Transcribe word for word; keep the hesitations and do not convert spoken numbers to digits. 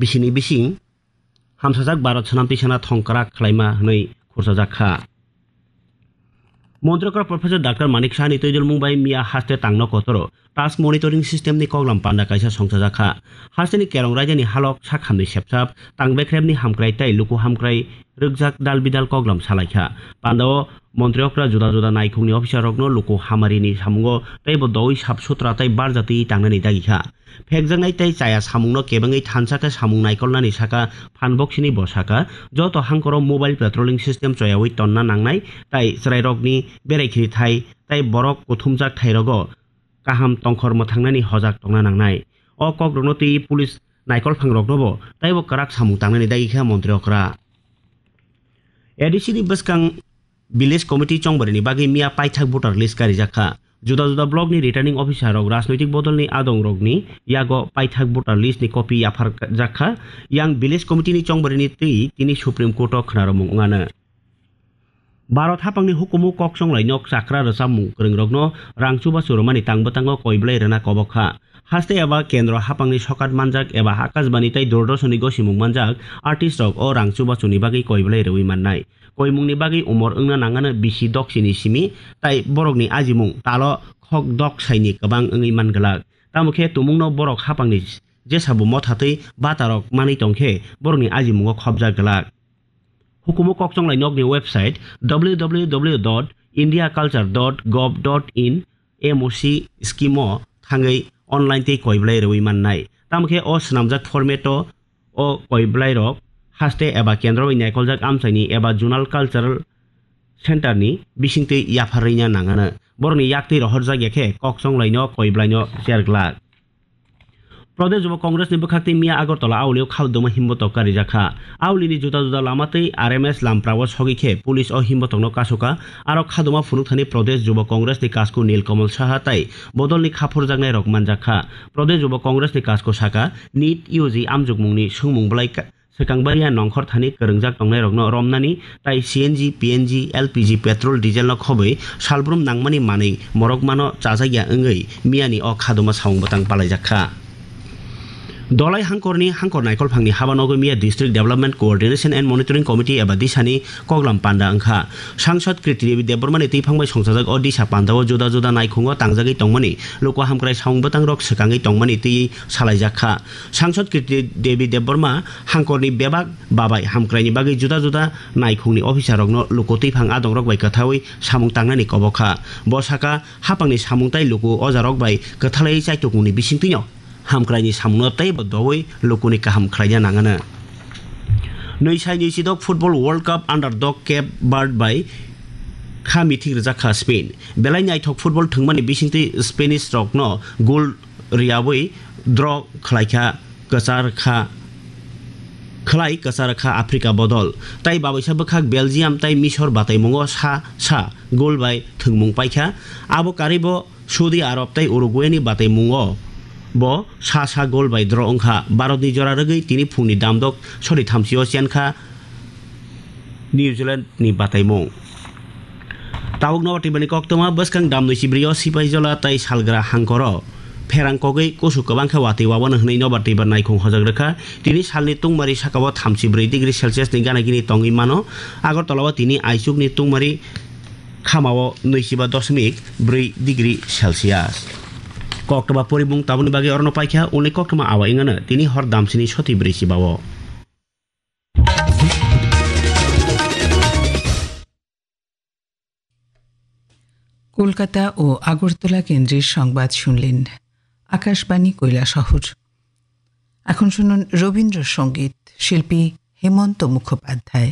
bisini bising hamsajak Bharat swnamtwi sana thongkrak khlaima hwnwi khurchajak kha. Montri okra Professor Doctor Manik Sahani twijlmung bai miya haste tangno kotoro task monitoring system ni koklam panda kaisa songchajak kha. Hasteni kerong raida ni halok sak hamni sepsap tang bekrep ni hamkrai tei luku hamkrai rwkjak dal bidal koklam salai kha. Panda o montri okra juda juda naikhung ni officer rokno luku hamari ni samungo tei bo doui sap sutra tei barjatwi tangnani dagi kha. Phekjaknai tei chaya samungno kebengwi thansa khe samung naikolnani saka phan boksini bo saka, joto hangkoro mobile patrolling system choyaui tonna nangnai tei chwrairokni berai khiri thai tei borok kuthumjak thairogo kaham tongkhor mwthangnani hojak tongna nangnai. O kokrokno twi police naikolphangroknobo teibo kwrak samung tangnani dagi kha montri okra. A D C ni bwskang Village Committee chongbarini bagwi miya paithak voter list karijak kha. Juda juda block ni returning officer rok rajnoitik bodol ni adong rok ni yago paithak voter list ni copy yaphar jak kha. Yang Village Committee ni chongbarini twi tini Supreme Court o khwnaromung wngano. Bharat hapang ni hukumu kok chonglai nok chakra rwchapmung kwrwng rok no rang chubachu rwmani tang bwtango koi belai rwna kobok kha. Haste eba kendro hapang ni sokat manjak eba Akashbani tei Doordarshan ni gosimung manjak artist rok o rang chubachu ni bagwi koi belai rwui mannai. Koimung ni bagwi umor wngna nangano bisi doksi ni simi, tai borok ni ajimung talo khok doksai ni kwbang wngwi man glak. Tamo khe tumung no borok hapang ni jesa bo motha twi bata rok manwi tong khe borok ni ajimungo khopjak glak. Hukumu kok chonglai nok ni website W W W dot india culture dot gov dot in M O C scheme o thangwi online tei koi belai rwui mannai. Tamo khe o swnamjak format o o koi belai rok haste eba kendro bai naikoljak amchaini eba zonal cultural center ni bisingtwi yapharwina nangano. Borokni yaktwi rohorjak ya khe kok chonglai no koi belai no cher glak. Pradesh Yuba Congress ni bwkhak tei miya Agartala Auli o khaldoma himbotok karijak kha. Auli ni juda juda lama tei R M S lamprao sogwi khe police o himbotok no kasu kha. Aro khadoma phunuk thani Pradesh Yuba Congress ni kasku Nil Kamal Saha tai bodol ni khaphurjaknai rok manjak kha. Pradesh Yuba Congress ni kasku saka nit U G amjukmung ni swngmung belai ka-, swkang baria nongkhor thani kwrwngjak tongnai rok no romnani tai C N G, P N G, L P G, petrol, diesel no khobwi salbrum nangmani manwi morok mano chajakya wngwi miyani o khadoma samung bwtang palaijak kha. Dolai hangkorni hangkor naikolphangni haba nogwi miya District Development Coordination and Monitoring Committee eba disani koklam panda wngkha. Sangsad Kirti Devi Debbarmani twiphang bai songchajak o disa pandao juda juda naikhungo tangjagwi tongmani luku hamkrai samung bwtangrok swkangwi tongmani twiwi salaijak kha. Sangsad Kirti Devi Debbarma hangkorni bebak babai hamkraini bagwi juda juda naikhungni officer rokno luku twiphang adongrok bai kwthawi samung tangnani kobok kha. Bo saka hapangni samung tai luku ojarok bai kwthalai chaitukmungni bisingtwino hamkraini samungno teibo doui lukuni kaham khlaina nangano. Nwi sai nwi chidok Football World Cup underdog Cape Verde bai kha mithik rwjak kha Spain. Belai naithok football thwngmani bisingtwi Spanish rokno goal riyaui draw khlaikha kwchar kha, khlai kwchar kha Africa bodol. Tai babaisa bwkhak Belgium tai Misor bataimungo sa sa goal bai thwngmung paikha. Abo karwibo Saudi Arab tai Uruguay ni bataimungo bo sa sa goal bai draw wngkha. Bharat ni jora rwgwi tini phungni damdok sori thamsio chenkha New Zealand ni bataimung. Tabuk Nobar Tibani koktwma bwskang damnwi sibrio Sipaijola tai Salgra hangkoro pherang kogwi kusu kwbang khe watwi wabano hwnwi Nobar Tibar naikhung hojak rwkha. Tini salni tungmari sakao thamsi bwrwi degree Celsius ni gana gini tongwi mano. Agartala o tini aichukni tungmari khamao nwichiba dosmik bwrwi degree Celsius. Koktwma porimung tabukni bagwi orono paikha, uni koktwma awa wngano tini hor damsini soti bwrwi chibao. Kolkata ও আগরতলা কেন্দ্রের সংবাদ শুনলেন আকাশবাণী কৈলাসহর। এখন শুনুন রবীন্দ্রসঙ্গীত, শিল্পী হেমন্ত মুখোপাধ্যায়।